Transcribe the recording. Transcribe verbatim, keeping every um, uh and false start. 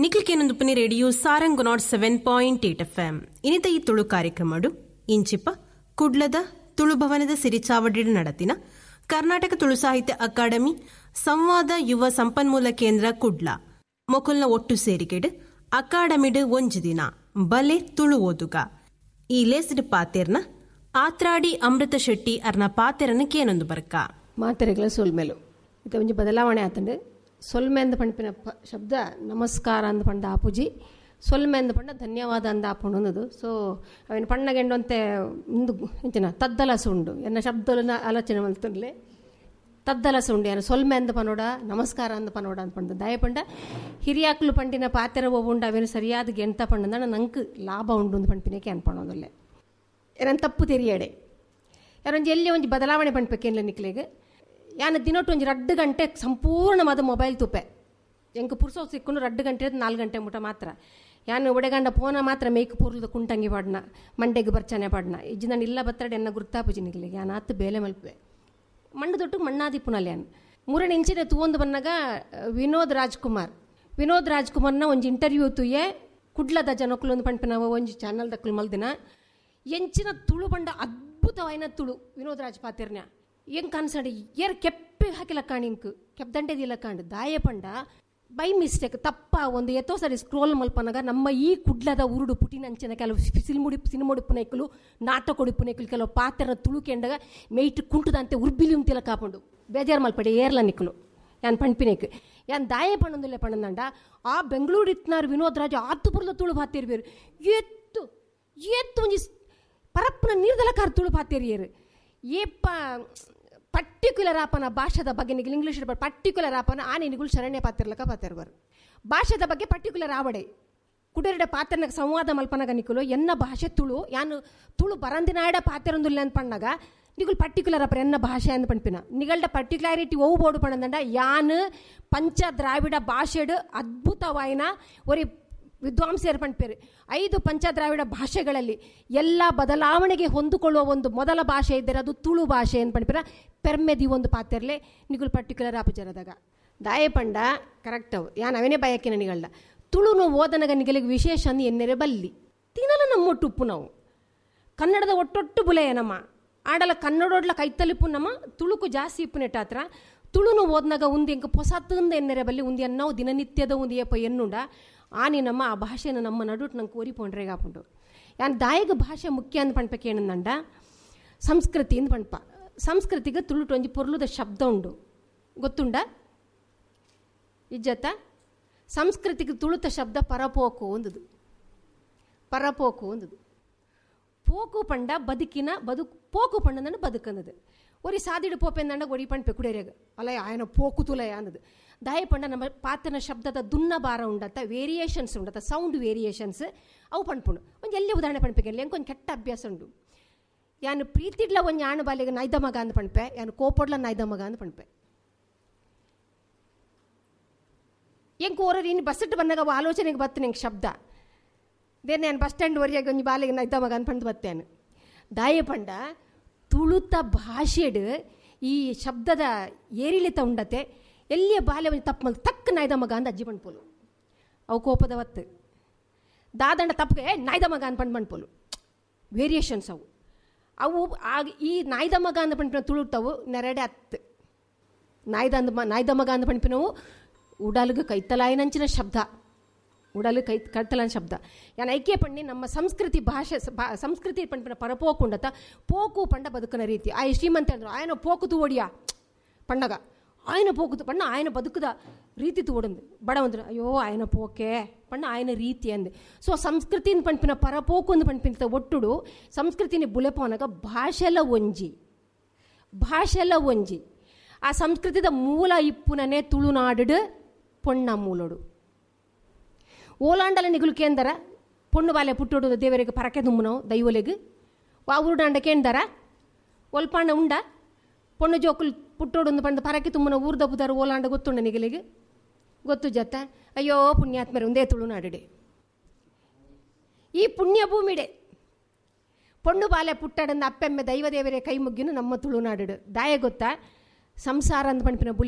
ನಿಕ್ಲಿಕೇನೊಂದು radio Sarang nought seven point eight F M ಇನ್ನಿತ ಈ ತುಳು ಕಾರ್ಯಕ್ರಮಡು ಇಂಚಿಪ ಕುಡ್ಲದ ತುಳುಭವನದ ಸಿರಿಚಾವಡಿ ನಡತಿನ ಕರ್ನಾಟಕ ತುಳು ಸಾಹಿತ್ಯ ಅಕಾಡೆಮಿ ಸಂವಾದ ಯುವ ಸಂಪನ್ಮೂಲ ಕೇಂದ್ರ ಕುಡ್ಲ ಮೊಕುಲ್ನ ಒಟ್ಟು ಸೇರಿಕೆಡು ಅಕಾಡೆಮಿಡ್ ಒಂಜಿ ದಿನ ಬಲೆ ತುಳು ಓದುಗ ಈ ಲೇಸ್ಡ್ ಪಾತೆರ್ನ ಆತ್ರಾಡಿ ಅಮೃತ ಶೆಟ್ಟಿ ಅರ್ನ ಪಾತೆರನ ಕೇನೊಂದು ಬರ್ಕ ಮಾತೆರೆಗಳ ಸೊಲ್ಮೆಲು ಇದು ಒಂಜಿ ಬದಲಾವಣೆ ಆತಂಡು ಸೊಲ್ಮೆ ಅಂದ ಪಂಪಿನ ಶಬ್ದ ನಮಸ್ಕಾರ ಅಂದ ಪಂಡ ಆಪುಜಿ ಸೊಲ್ಮೆ ಅಂದ ಪಂಡ ಧನ್ಯವಾದ ಅಂದ ಆಪುಂಡು ಅನ್ನೋದು. ಸೊ ಅವಿನ ಪಣ್ಣಗೆಂಡಂತೆ ಇಂದು ಇಂಚಿನ ತದ್ದಲಸ ಉಂಡು ಎನ್ನ ಶಬ್ದಲನ ಆಲೋಚನೆ ಮಲ್ತುಂಡ್ಲೆ ತದ್ದಲಸ ಉಂಡು ಯಾರು ಸೊಲ್ಮೆ ಅಂದ ಪನೋಡ ನಮಸ್ಕಾರ ಅಂದ ಪನೋಡ ಅಂತ ಪಂಡ ದಯ ಪಂಡ ಹಿರಿಯಾಕ್ಲು ಪಂಡಿನ ಪಾತೆರ ಉಂಡು ಅವೇನು ಸರಿಯಾದ ಗೆಂತ ಪಂಡಂದ ನಂಗೆ ಲಾಭ ಉಂಡು ಅಂದ್ ಪಂಪಿನಕ್ಕೆ ಅನ್ಪಣೋದಲ್ಲೇ ಏನನ್ ತಪ್ಪು ತೆರಿಯಡೆ ಯಾರೊಂಜಿ ಎಲ್ಲಿ ಒಂಜಿ ಬದಲಾವಣೆ ಪಂಡ್ಪೇಕೇನ್ಲ ನಿಕ್ಲೆಗ್ ಯಾನ ದಿನೊಟ್ಟು ಒಂಜಿ ರಡ್ಡು ಗಂಟೆ ಸಂಪೂರ್ಣವಾದ ಮೊಬೈಲ್ ತುಪ್ಪೆ ಎಂಕ್ ಪುರ್ಸೋ ಸಿಕ್ಕೊಂಡು ರಡ್ಡು ಗಂಟೆ ನಾಲ್ಕು ಗಂಟೆ ಮುಟ ಮಾತ್ರ ಯಾನು ಒಡೆಗಂಡ ಪೋನ ಮಾತ್ರ ಮೇಕ್ ಪೂರ್ಲದ ಕುಂಟಂಗಿ ಪಾಡ್ನ ಮಂಡೆಗೆ ಬರ್ಚನೆ ಪಾಡ್ನ ಇಜ್ಜಿ ನಾನು ಇಲ್ಲ ಬತ್ತಡೆ ಎನ್ನ ಗುರ್ತಾಪುಜಿ ನಿಕ್ಲೆಗ್ ಯಾನ್ ಆತು ಬೇಲೆ ಮಲ್ಪೆ ಮಣ್ಣು ದೊಟ್ಟು ಮಣ್ಣಾದಿಪ್ಪುನಲ್ಲ ಯಾನ್ ಮೂರನೇ ಇಂಚಿನ ತೂವೊಂದು ಬನ್ನಾಗ ವಿನೋದ್ ರಾಜ್ಕುಮಾರ್ ವಿನೋದ್ ರಾಜ್ಕುಮಾರ್ನ ಒಂಜಿ ಇಂಟರ್ವ್ಯೂ ತೂಯೆ ಕುಡ್ಲದ ಜನಕ್ಕಲು ಒಂದು ಪಂಪಿನ ಒಂಜಿ ಚಾನಲ್ ದಕ್ಕಲು ಮಲ್ದಿನ ಎಂಚಿನ ತುಳು ಬಂಡ ಅದ್ಭುತವಾಯಿನ ತುಳು ವಿನೋದ್ ರಾಜ್ ಪಾತಿರ್ನ ಎಂಕ್ ಅನ್ಸಂಡೆ ಏರ್ ಕೆಪ್ಪೆ ಹಾಕಿಲ್ಲ ಕಾಣ್ ಇಂಕ್ ಕೆಪ್ದಂಡೆದಿಲ್ಲ ಕಾಂಡು ದಾಯ ಪಂಡ ಬೈ ಮಿಸ್ಟೇಕ್ ತಪ್ಪ ಒಂದು ಎತ್ತೋ ಸರಿ ಸ್ಕ್ರೋಲ್ ಮಲ್ಪನಾಗ ನಮ್ಮ ಈ ಕುಡ್ಲದ ಉರುಡು ಪುಟಿನಂಚಿನ ಕೆಲವು ಸಿಲ್ಮುಡಿ ಸಿನಿಮುಡಿಪ್ಪುನೈಕಲು ನಾಟಕೊಡಿಪ್ಪುನೈಕಲು ಕೆಲವು ಪಾತ್ರ ತುಳು ಕೆಂಡಗ ಮೇಯ್ಟ್ ಕುಂಟುದಂತೆ ಉರ್ಬಿಲಿ ಉಂತಿಲ್ಲ ಕಾಪುಂಡು ಬೇಜಾರು ಮಲ್ಪಡೆ ಏರ್ಲ ನಿಕ್ಕಲು ಯಾನ್ ಪಂಪಿನೇಕ್ ಯಾನ್ ದಾಯ ಪಣ್ಣೊಂದುಲ್ಲೆ ಪಣ್ಣಂದಂಡ ಆ ಬೆಂಗಳೂರು ಇತ್ನಾರು ವಿನೋದ್ ರಾಜ್ ಆತುಪುರದ ತುಳು ಪಾತಿರ್ಬೇರು ಎತ್ತು ಎತ್ತು ಒಂಜಿ ಪರಪ್ಪನ ನೀರ್ದಲಕಾರ ತುಳು ಪಾತಿರಿಯರು ಏಪ್ಪ ಪರ್ಟಿಕ್ಯುಲರ್ ಆಪನ ಭಾಷೆದ ಬಗ್ಗೆ ನಿಗಲು ಇಂಗ್ಲೀಷ್ ಪರ್ಟಿಕ್ಯುಲರ್ ಆಪನ ಆ ನಿಗುಳು ಶರಣ್ಯ ಪಾತಿರ್ಲಕ ಪಾತಿರ್ಬಾರು ಭಾಷೆದ ಬಗ್ಗೆ ಪರ್ಟಿಕ್ಯುಲರ್ ಆವಡೆ ಕುಡರೆಡ ಪಾತ್ರನಾಗ ಸಂವಾದ ಮಲ್ಪನಾಗ ನಿಕುಲು ಎನ್ನ ಭಾಷೆ ತುಳು ಯಾನು ತುಳು ಬರಂದಿನಾಡ ಪಾತಿರೊಂದುಲ್ಲ ಅಂತ ಪಣ್ಣಾಗ ನಿಗುಲು ಪರ್ಟಿಕ್ಯುಲರ್ ಅಪ್ಪ ಎನ್ನ ಭಾಷೆ ಅಂತ ಪಂಪಿನ ನಿಗಲ್ಡ ಪರ್ಟಿಕ್ಯುಲಾರಿಟಿ ಒವು ಬೋಡು ಪಣ್ಣಂದಂಡ ಯಾನು ಪಂಚ ದ್ರಾವಿಡ ಭಾಷೆಡು ಅದ್ಭುತವಾಯಿನ ಒರಿ ವಿದ್ವಾಂಸರು ಪಂಪೇರು ಐದು ಪಂಚದ್ರಾವಿಡ ಭಾಷೆಗಳಲ್ಲಿ ಎಲ್ಲ ಬದಲಾವಣೆಗೆ ಹೊಂದಿಕೊಳ್ಳುವ ಒಂದು ಮೊದಲ ಭಾಷೆ ಇದ್ದರೆ ಅದು ತುಳು ಭಾಷೆ ಅಂತ ಪಂಪಿನ ಪೆರ್ಮೆದಿ ಒಂದು ಪಾತೆರ್ಲೆ ನಿಗುಲು ಪರ್ಟಿಕ್ಯುಲರ್ ಆಪುಜರದಾಗ ದಾಯ ಪಂಡ ಕರೆಕ್ಟ್ ಅವು ಯಾನ್ ಅವೇನೇ ಬಯಕಿನ ನಿಗಳ್ದ ತುಳುನು ಓದನಗ ನಿಗಲಿಗೆ ವಿಶೇಷ ಅಂದು ಎನ್ನೆರೆ ಬಲ್ಲಿ ತಿನ್ನಲು ನಮ್ಮೊಟ್ಟು ಉಪ್ಪು ನಾವು ಕನ್ನಡದ ಒಟ್ಟೊಟ್ಟು ಬುಲೆಯ ನಮ್ಮ ಆಡಲ ಕನ್ನಡೋಡ್ಲ ಕೈತಲಿಪ್ಪು ನಮ್ಮ ತುಳುಕು ಜಾಸ್ತಿ ಇಪ್ಪು ನೆಟ್ಟಾತ್ರ ತುಳುನು ಓದ್ನಾಗ ಉಂದು ಎಂಕ ಪೊಸತ್ತಂದ ಎನ್ನೆರೆ ಬಲ್ಲಿ ಉಂದು ಎನ್ನವು ದಿನನಿತ್ಯದ ಉಂದು ಏಪ ಎನ್ನುಂಡ ಆನಿ ನಮ್ಮ ಆ ಭಾಷೆನ ನಮ್ಮ ನಡುಟ್ ನಂಗೆ ಕೋರಿ ಆಪುಂಡು ಯಾನ್ ದಾಯಗ ಭಾಷೆ ಮುಖ್ಯ ಅಂದ್ ಪಣ್ಪಕ್ಕೆ ಏನಂದಂಡ ಸಂಸ್ಕೃತಿ ಅಂದ್ ಪಣ್ಪ ಸಂಸ್ಕೃತಿಗೆ ತುಳುಟು ಒಂಜಿ ಪೊರ್ಲುದ ಶಬ್ದ ಉಂಡು ಗೊತ್ತುಂಡ ಇಜ್ಜತ್ತ ಸಂಸ್ಕೃತಿಗೆ ತುಳುತ ಶಬ್ದ ಪರಪೋಕು ಒಂದುದು ಪರಪೋಕು ಒಂದುದು ಪೋಕು ಪಂಡ ಬದುಕಿನ ಬದುಕು ಪೋಕು ಪಂಡಂದಂಡ ಬದುಕಂದದು ಒರಿ ಸಾದಿಡು ಪೋಪೆಂದಂಡ ಒರಿ ಪಂಡ್ಪೆ ಕುಡಿಯರ್ಯಾಗ ಅಲ್ಲ ಆಯನ ಪೋಕು ತುಲಯ ಅಂದದು ದಾಯ ಪಂಡ ನಮ್ಮ ಪಾತ್ರನ ಶಬ್ದದ ದುನ್ನ ಭಾರ ಉಂಡತ್ತ ವೇರಿಯೇಷನ್ಸ್ ಉಂಡತ್ತ ಸೌಂಡ್ ವೇರಿಯೇಷನ್ಸ್ ಅವು ಪಣ್ಪುಂಡು ಒಂದು ಎಲ್ಲೇ ಉದಾಹರಣೆ ಪಣ್ಪೆಗೆ ಎಂಕೊಂದು ಕೆಟ್ಟ ಅಭ್ಯಾಸ ಉಂಡು ಯಾನು ಪ್ರೀತಿಡ್ಲ ಒಂದು ಯಾಣ ಬಾಲಿಗೆ ನಾಯ್ದ ಮಗ ಅಂದ್ ಪಣ್ಪೆ ಯಾನು ಕೋಪೊಡ್ಲ ನಾಯ್ದ ಮಗ ಅಂದ್ ಪಣ್ಪೆ ಎಂಕ್ ಓರರು ಇನ್ನು ಬಸ್ಸಿಟ್ಟು ಬಂದಾಗ ಅವು ಆಲೋಚನೆಗೆ ಬತ್ತು ನಿಂಗೆ ಶಬ್ದ ದೇನೆ ನಾನು ಬಸ್ ಸ್ಟ್ಯಾಂಡ್ ವರೆಗೆ ಒಂಜಿ ಬಾಲಿಗೆ ನಾಯ್ದ ಮಗ ಅಂದ್ ಪಂಡ್ ಬತ್ತೇನು ದಾಯ ಪಂಡ ತುಳುತ ಭಾಷೆಡು ಈ ಶಬ್ದದ ಏರಿಳಿತ ಉಂಡತೆ ಎಲ್ಲಿಯ ಬಾಲ್ಯ ಒಂಜಿ ತಪ್ಪು ಮಲ್ ತಕ್ಕ ನಾಯ್ದ ಮಗ ಅಂದ ಅಜ್ಜಿ ಪಣ್ಪೋಲು ಅವು ಕೋಪದ ಒತ್ತು ದಾದಂಡ ತಪ್ಪಗೆ ಏ ನಾಯ್ದ ಮಗ ಅಂದ್ ಪಂಡ್ ಪಣ್ಪೋಲು ವೇರಿಯೇಷನ್ಸ್ ಅವು ಅವು ಆಗ ಈ ನಾಯ್ದ ಮಗ ಅಂದ ಪಣ್ಪಿನ ತುಳುಟವು ನೆರಡೆ ಅತ್ತು ನಾಯ್ದ ಅಂದ ನಾಯ್ದ ಮಗ ಅಂದ ಪಣ್ಪಿನವು ಉಡಲ್ಗೆ ಕೈತಲಾಯಿನಂಚಿನ ಶಬ್ದ ಉಡಲು ಕೈ ಕೈತಲಾಯನ ಶಬ್ದ ಯಾನ್ ಐಕ್ಯ ಪಣ್ಣಿ ನಮ್ಮ ಸಂಸ್ಕೃತಿ ಭಾಷೆ ಸಂಸ್ಕೃತಿ ಪಣ್ಪಿನ ಪರಪೋಕುಂಡತ ಪೋಕು ಪಂಡ ಬದುಕನ ರೀತಿ ಆಯ ಶ್ರೀಮಂತ ಅಂದ್ರು ಆಯನ ಪೋಕು ತೂವಡಿಯ ಪಣ್ಣಗ ಆಯನ ಪೋಕು ಪಣ್ಣ ಆಯನ ಬದುಕದ ರೀತಿ ತೂವಡಂದು ಬಡವಂದ್ರು ಅಯ್ಯೋ ಆಯನ ಪೋಕೆ ಪಣ್ಣ ಆಯನ ರೀತಿ ಅಂದು. ಸೊ ಸಂಸ್ಕೃತಿನ ಪಣ್ಪಿನ ಪರಪೋಕು ಅಂದು ಪಣ್ಪಿನ ಒಟ್ಟುಡು ಸಂಸ್ಕೃತಿನಿ ಬುಲೆಪೋನಗ ಭಾಷೆಲ ಒಂಜಿ ಭಾಷೆಲ ಒಂಜಿ ಆ ಸಂಸ್ಕೃತಿದ ಮೂಲ ಇಪ್ಪುನನೆ ತುಳುನಾಡು ಪೊಣ್ಣ ಮೂಲೋಡು ಓಲಾಂಡಲ ನಿಗುಲು ಕೇಂದರ ಪೊಣ್ಣು ಬಾಲೆ ಪುಟ್ಟೋಡು ದೇವರಿಗೆ ಪರಕೆ ದುಮ್ಮನವು ದೈವಲೆಗ್ ವಾ ಊರುಡಾಂಡ ಕೇಂದರ ಒಲ್ಪಾಂಡ ಉಂಡ ಪೊಣ್ಣು ಜೋಕುಲು ಪುಟ್ಟೋಡು ಪಂಡ ಪರಕೆ ತುಮ್ಮನ ಊರ್ದ ಬುದಾರು ಓಲಾಂಡ ಗೊತ್ತುಂಡ ನಿಗಲಿಗೆ ಗೊತ್ತು ಜತ್ತ ಅಯ್ಯೋ ಪುಣ್ಯಾತ್ಮರೆ ಒಂದೇ ತುಳುನಾಡುಡೆ ಈ ಪುಣ್ಯ ಭೂಮಿಡೆ ಪೊಣ್ಣು ಬಾಲೆ ಪುಟ್ಟಡಂದ ಅಪ್ಪೆಮ್ಮೆ ದೈವದೇವರೇ ಕೈ ಮುಗ್ಗಿನು ನಮ್ಮ ತುಳುನಾಡು ದಾಯ ಗೊತ್ತಾ ಸಂಸಾರ ಅಂದ್ ಪಣ್ಪಿನ ಬುಲಿ